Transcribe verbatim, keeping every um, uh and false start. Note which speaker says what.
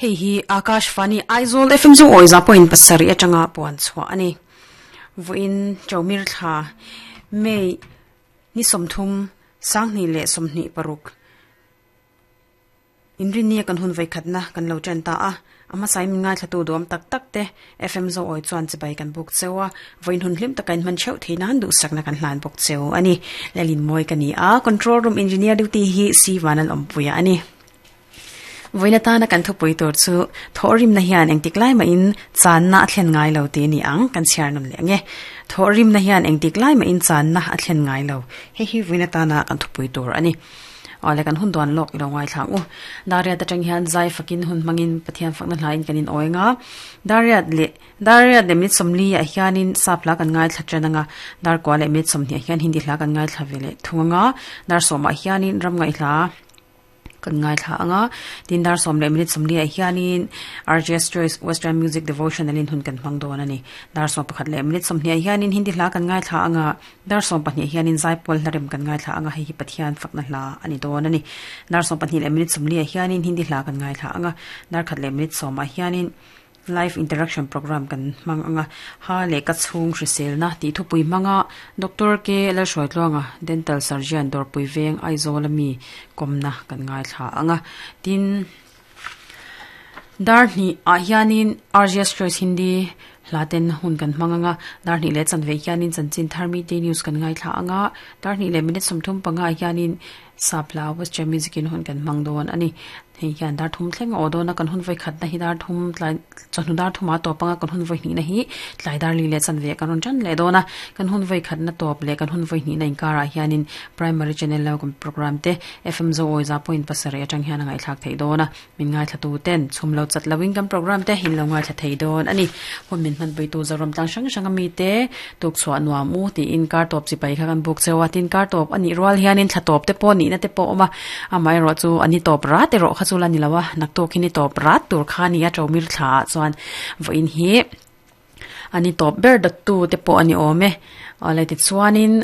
Speaker 1: Hei hi Akashvani Aizawl F M zo awi za point pasarih atanga puan chhuah a ni. Vawiin Chawmir thla May ni sawmthum sanghnih leh sawmhnih paruk inrinni kan hun vai khatna kan lo chen ta a ama sai min ngai thlatu dawm tak tak te F M zo awi chuan chibai kan buk chewa vawiin hun hlim taka in hman theuh theih nan duh sakna kan hlan bawk cheu ani. Lalin mawi ka ni a, control room engineer duty hi C Vanal Awmpuia ani. Vawiin atana kan thupui tur chu thawhrim na hian engtik lai mah in channa a thlen ngai lo ti ni ang kan chhiar nawn leh ange. Thawhrim na hian engtik lai mah in channa a thlen ngai lo. Hei hi vawiin atana kan thupui tur ani. Awle kan hun duan lawk ilo ngai thlang u. Dariat atang hian zai fakin hun hmangin Pathian fakna hlain kan in awi nga. Dariat leh Dariat leh minute sawmli ah hianin sap hla kan ngai thla tan anga. Dar kua leh minute sawmhnih ah hian Hindi hla kan ngai thla ve leh thung anga. Dar sawmah hianin ram ngaih hla kan ngai thla anga. Tin dar sawm leh minute sawmli ah hianin R J S Choice Western Music Devotional in hun kan hmang dawn ani. Dar sawm pakhat leh minute sawmhnih ah hianin Hindi hla kan ngai thla anga. Dar sawm pahnih hianin Zaipawl hlarem kan ngai thla anga. Hei hi Pathian fakna hla ani dawn ani. Dar sawm pahnih leh minute sawmli ah hianin Hindi hla kan ngai thla anga. Dar khat leh minute sawmah hianin live interaction program kan hmang anga. Ha leh ka chhung hriselna tih thupui hmanga Doctor K Lalhruaitluanga dental surgeon Dawrpui Veng Aizawl ami kawmna kan ngai thla anga. Tin dar hnih ah hianin R J S Choice Hindi hla ten hun kan hmang anga. Dar hnih leh chanve hianin chanchin thar mi te news kan ngai thla anga. Dar hnih leh minute sawmthum panga hianin sap hla Western Music in hun kan hmang dawn ani. Hei hian dar thum thleng a aw dawn a, kan hun vawi khat na hi dar thum tlai chawhnu dar thuma tawp anga kan hun vawi hnih na hi tlai dar li leh chanve kan rawn tan leh dawn a. Kan hun vawi khat na tawp leh kan hun vawi hnih na inkarah hianin primary channel lo kan program te F M zo awi za point pasarih atang hian a ngaihthlak theih dawn a. Min ngaithla tu ten chhum lo chat loin kan program te hin lo ngaithla thei dawn ani. Hun min hman pui tu Zoram tlang hrang hrang ami te tuk chhuah nuam u tiin kar tawp chipai kha kan buk chewa. Tin kar tawp ani rual hianin thla tawp te pawh nih na te pawh awm a, amaherawh chu ani tawp rat erawh kha chu la ni lo a, naktuk hi ni tawp rat tur kha ni a Chawmir thla ah chuan vawiin hi ani tawp ber dawttu te pawh ani awm e. Awle tichuanin